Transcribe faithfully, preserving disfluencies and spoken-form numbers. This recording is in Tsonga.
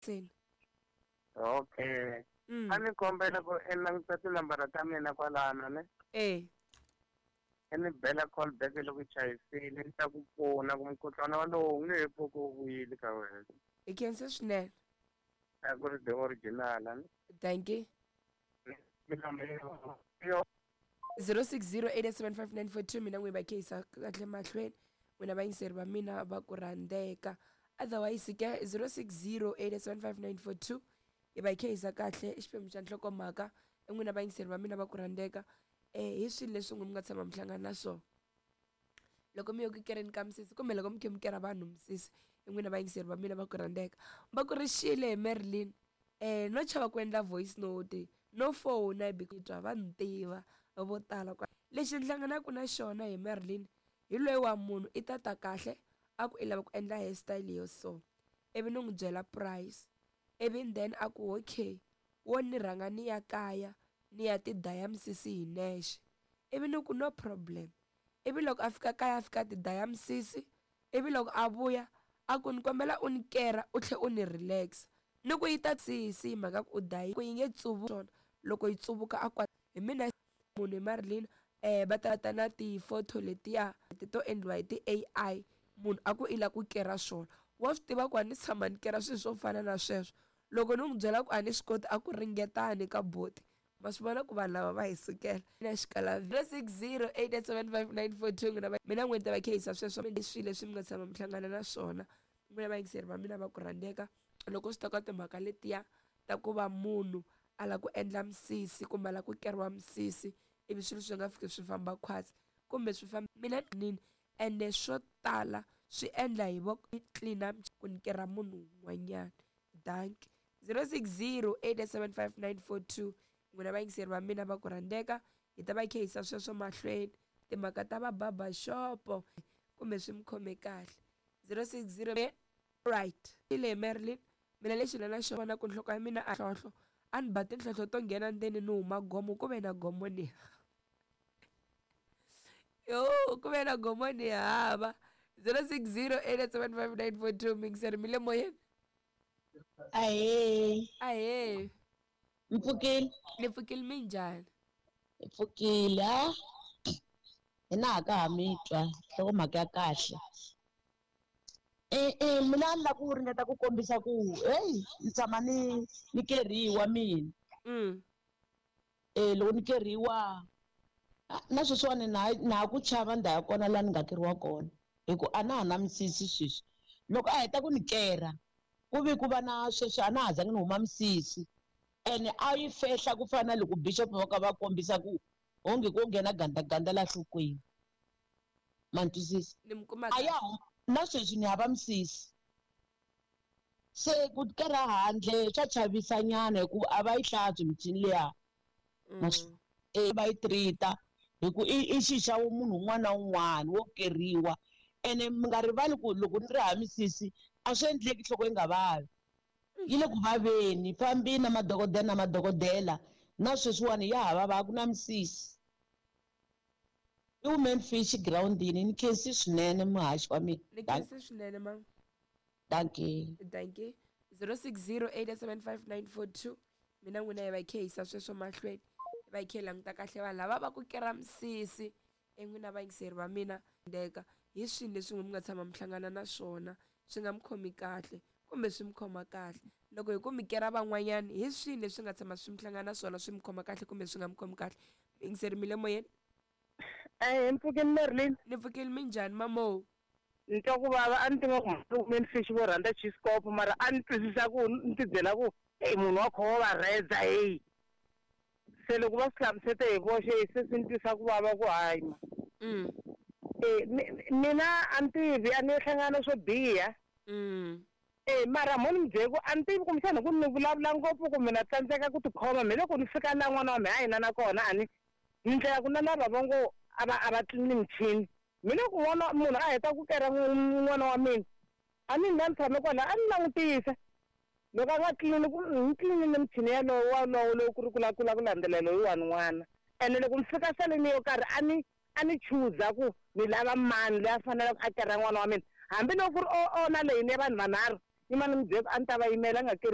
Seni. Okay. Mm. A ni kombela ku i languta tinambara ta mina kwalano ne Eh. i ni bela call back loko i chayisile ni ta ku pfuna ku mukhuhlwana walowo wu nge he pfuki wu vuyile ka wena. Hi khensa swinene. A ku ri the original ne. Dankie. Yo. zero six zero eight seven five nine four two mina n'wi va khehisa kahle mahlweni n'wina vayingiseri va mina va ku rhandzeka otherwise ke zero six zero eight seven five nine four two hi va hi khehisa kahle i xiphemu xa nhlokomhaka i n'wina vayingiseri va mina va ku rhandzeka um hi swilo leswi n'wi mi nga tshama mi hlangana na swona loko mi yo ku kereni ka misisi kumbe loko mi khe mi kera vanhu misisi i n'wina vayingiseri va mina va ku rhandzeka va ku ri xile hi Marilyn eh no chava ku endla voice note no fona twa va ni tiva vo tala kwa lexi ni hlanganaka na xona hi Marilyn hi loyi wa munhu i tata kahle a ku i lava ku endla hairstyle yo so ivi ni n'wi byela price ivi then a ku okay wo ni rhanga ni ya kaya ni ya ti daya misisi hi nexe ivi ni ku no problem ivi loko a fika kaya a fika ti daya misisi ivi loko a vuya a ku ni kombela u ni kera u tlhe u ni relax ni ku yi ta sisi hi mhaka ku u dayi ku yi nge tsuvu swona loko yi tsuvuka a kwa hi mina munhu hi Marilyn eh va ta ta na ti-photo letiya ti to endliwa hi ti-A I munhu a ku i lava ku kera swona wa swi tiva ku a ni tshama ni kera swilo swo fana na sweswo loko ni n'wi byela ku a ni swi koti a ku ringetani ka boti ma swi vona ku vanhu lava va hi sukela na xikala zero six zero eight seven five nine four two n'wina mina n'wini ta va khehisa sweswo i swilo leswi mi nga tshama mi hlangana na swona n'wina vayingiseri va mina va ku rhandzeka loko swi ta ka timhaka letiya ta ku va munhu a lava ku endla misisi kumbe a lava ku keriwa misisi ivi swilo swi nga fiki swi famba khwatsi kumbe swi famba mina nini ende swo tala swi endla hi vo clean ku ni kera munhu un'wanyana dankie zero six zero eight seven five nine four two n'wina vayingiseri va mina va ku rhandzeka hi ta va khehisa sweswo mahlweni timhaka ta va barbershopo kumbe swi mi khome kahle zero six zero right ile Marilyn mina lexi na na xona ku nhloko ya mina a hlohlo a ni ba tinhlohlo to nghena ndzeni ni huma gomo ku ve na gomo ni yo ku ve na gomo ni hava zero six zero eight seven five nine four two mixer mi le moyeni. Ahee. Ahee. Mpfukile. Ni pfukile minjhani? Hi pfukile ha hina ha ka ha mi twa nhlokomhaka ya kahle. E e mina ni lava ku ringeta ku kombisa ku heyi ni tshama ni ni keriwa mina. Mm. E loko ni keriwa na sweswiwani na na ha ku chava ndhawu ya kona laha ni nga keriwa kona hi ku a na ha na misisi sweswi loko a heta ku ni kera ku vi ku va na sweswi a na ha zangi ni huma misisi ene a yi fehla ku fana na loko bishop va ka va kombisa ku onge ko nghena gandaganda la nhlokweni ma ni twisisa Ni mi kuma a ya huma na sweswi ni hava misisi se ku kera handle swa chavisa nyana hikuva a va yi hlantswi michini liya Mm. e va yi treat-a hi ku i i xi xa munhu un'wana na un'wana wo keriwa ene mi nga rivali ku loko ni ri hava misisi a swi endleki nhloko yi nga vavi yi le ku vaveni fambini na madokodela na madokodela na sweswiwani ya ha vava a ku na misisi i women fish girawundini ni khensi swinene muhaxi wa mina Ni khensi swinene ma. Dankie. Dankie. zero six zero eight seven five nine four two mina n'wina hi va khehisa sweswo mahlweni hi va hi khe hi languta kahle vanhu lava va ku kera misisi en'wina vayingiseri va mina ndeka hi swilo leswi n'wi mi nga tshama mi hlangana na swona swi nga mi khomi kahle kumbe swi mi khoma kahle loko hi ku mi kera van'wanyana hi swilo leswi nga tshama swi mi hlangana na swona swi mi khoma kahle kumbe swi nga mi khomi kahle yingiseri mi le moyeni. Eh mpfukeni Marilyn. Ni pfukile minjhani mamo? Ni twa ku vava a ni tiva ku women fish vo rhandza chiskop mara a ni twisisa ku ni ti byela ku hey munhu wa kho wa va rhedza hey se loko va swi hlamusete hi voxe se swi ni twisa ku vava ku hayi ma Mm. eh mina a ni tivi a ni hlangana swo biha. Mm. Eh mara mo ni mi byele ku a ni tivi kumbexana ku ni vulavula ngopfu kumbe na tsandzeka ku tikhoma me loko ni fika la n'wana wa mehe a hina na kona a ni ni ndlela ku na lava va ngo a va a va tlini michini mi loko n'wana munhu a heta ku kera n'wana wa mina a ni na ni tshame kwala a ni langutisa loko a nga tlini ku ni tlinile michini yalowo walowo lowu ku ri ku la ku la ku landzelela loyiwani n'wana ene loko ni fika saleni yo karhi a ni a ni chuza ku ni lava mani loyi a faneleke a kera n'wana wa mina hambiloko ku ri o o na leyi ni ya vanhu vanharhu ni ma ni mi byela ku a ni ta va yimela a nga keri.